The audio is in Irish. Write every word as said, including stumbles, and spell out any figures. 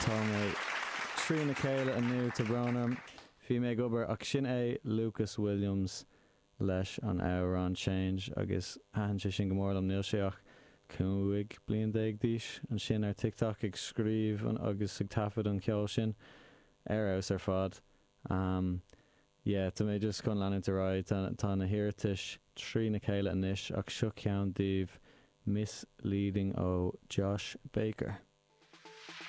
Tá mé trína chéile inniu, tá brón orm. Bhí mé ag obair ach sin é Lucas Williams leis an amhrán Change agus thaitin sé sin go mór liom níl sé ach cúig bliain déag d'aois ansin ar TikTok ag scríobh an agus ag taifead an ceol sin ar fheabhas ar fad. Um, yeah, tá mé just chun leanúint ar aghaidh tá na hiarratais trína chéile anois ach seo ceann díobh Misleading ó Josh Baker.